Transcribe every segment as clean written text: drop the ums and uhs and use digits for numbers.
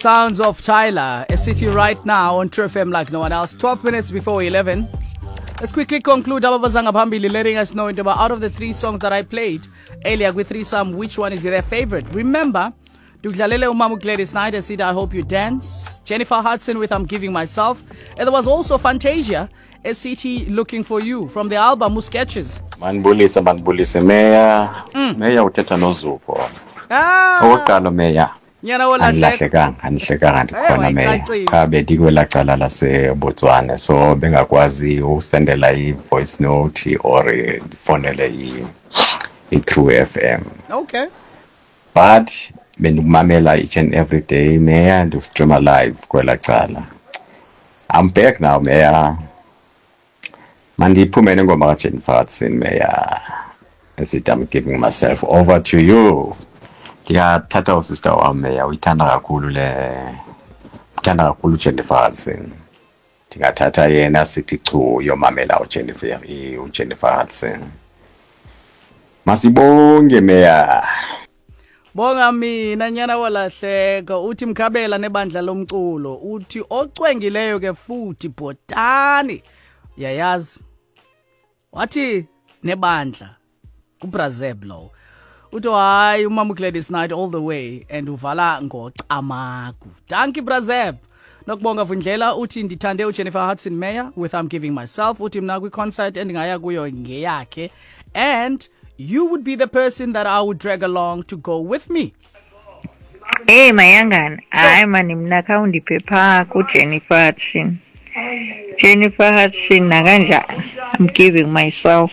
Sounds of Tyler, a city right now on True FM like no one else. 12 minutes before 11. Let's quickly conclude Ababazanga Phambili letting us know into about out of the three songs that I played earlier with threesome, which one is their favorite? Remember, Dudlalele Umamu Gladys Knight and said, I hope you dance. Jennifer Hudson with I'm Giving Myself. And there was also Fantasia, SCT Looking For You from the album Sketches. Manibulise, manibulise meya. Meya uthetha noZuko. Ah, Okokuqala meya, nyana wolahleko. andilahlekanga, andihlekanga ndikhona meya. wayicacisa. Qha bendikwelaa cala laseBotswana so bengakwazi usendela i-voice note or ndifonele i-True FM. Okay. But bendikumamela each and every day meya, ndikustreama live kwelaa cala. I'm back now meya. Mandiphume nengoma kaJennifer Hudson meya. Esithi I'm giving myself over to you. Ndingathatha usister wam meya, uyithanda kakhulu le, uthanda kakhulu uJennifer Hudson. Ndingathatha yena sithi chu uyomamela uJennifer, uJennifer Hudson. Masibonge meya. Bonga mina nyana wolahleko uthi mkhabela nebandla lomculo uthi ocwengileyo ke futhi bhotani uyayazi wathi nebandla kuBrazeb lo uthi hayi umama uGladys Knight all the way and uvala ngocamagu. Dankie Brazeb. Nokubonga Vundlela uthi ndithande uJennifer Hudson Mayer with I'm Giving Myself. Uthi mna kwi-concert endingaya kuyo ngeyakhe and you would be the person that I would drag along to go with me. Hey Mayangana, hayi mani mna khawundiphe phaa kuJennifer Hudson. Jennifer Hudson nakanjani? I'm giving myself.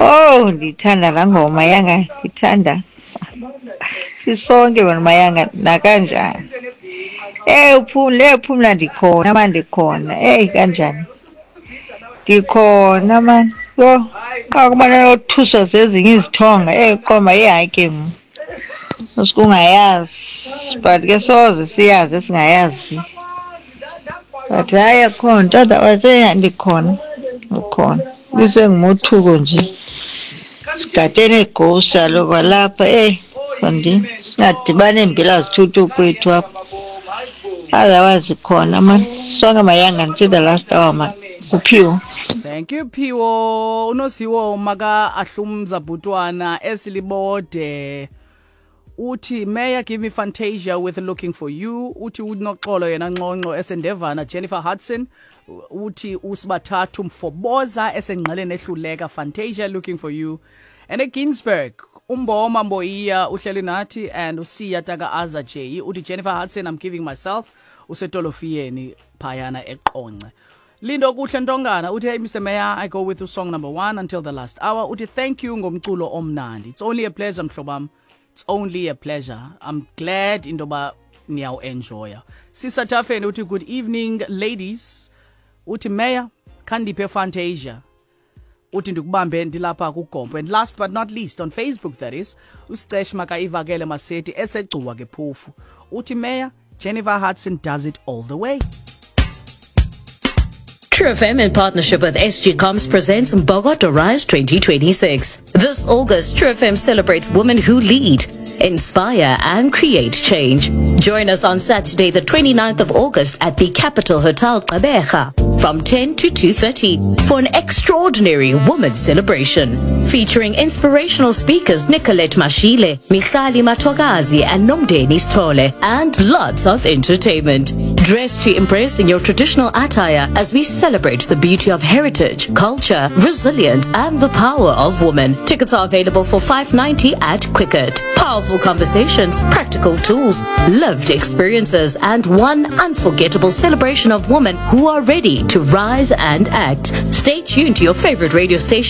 Oh, ndithanda laa ngoma Mayangana, ndithanda. Sisonke wena Mayangana nakanjani? Eh uphumle, uphumla ndikhona mani ndikhona. Hey kanjani? Ndikhona mani. Yho, xa kubana yothuswa zezinye izithonga, eh qoma hayi ke mna. Usukungayazi, but ke soze siyazi esingayazi. But hayi akho nto, otherwise ndikhona, ukhona. Lisengumothuko nje. Sigadene eghost kaloku kwalapha, eyi mfondini, singadibani iimbila zithuthu kwethu apha. Otherwise khona mani, sonke Mayanga until the last hour mani. Kuphiwo. Thank you Phiwo. Unosifiwo maka ahlumza bhutwana esilibode uthi Mayor give me Fantasia with Looking For You. Uthi unoxolo yena nxonxo esendevana Jennifer Hudson. Uthi usibathathu mfoboza esengqeleni ehluleka Fantasia Looking For You. And eGinsberg umboma Mboyiya uhleli nathi and usiya taka Aza J uthi Jennifer Hudson I'm Giving Myself usetolofiyeni phayana eqonce. Lindo kuhle Ntongana uthi hey Mr Mayor, I go with song number 1 until the last hour. Uthi thank you ngomculo omnandi. It's only a pleasure mhlobam. It's only a pleasure. I'm glad indoba niyaw enjoya. Sisa Tafeni uthi good evening ladies. Uthi Mayor khandiphe Fantasia. Uthi ndikubambe ndilapha kuGompo. And last but not least on Facebook that is uSicesh makaivakele Maseti esegcuwa ke phofu. Uthi Mayor Jennifer Hudson does it all the way. True FM in partnership with SG Comms presents Mbokodo Rise 2026. This August, True FM celebrates women who lead, inspire and create change. Join us on Saturday, the 29th of August at the Capital Hotel Gqeberha from 10 to 2:30 for an extraordinary women's celebration featuring inspirational speakers Nicolette Mashile, Michali Matogazi and Nomdeni Stole, and lots of entertainment. Dress to impress in your traditional attire as we celebrate the beauty of heritage, culture, resilience and the power of women. Tickets are available for $5.90 at Quicket. Powerful conversations, practical tools, lived experiences and one unforgettable celebration of women who are ready to rise and act. Stay tuned to your favorite radio station.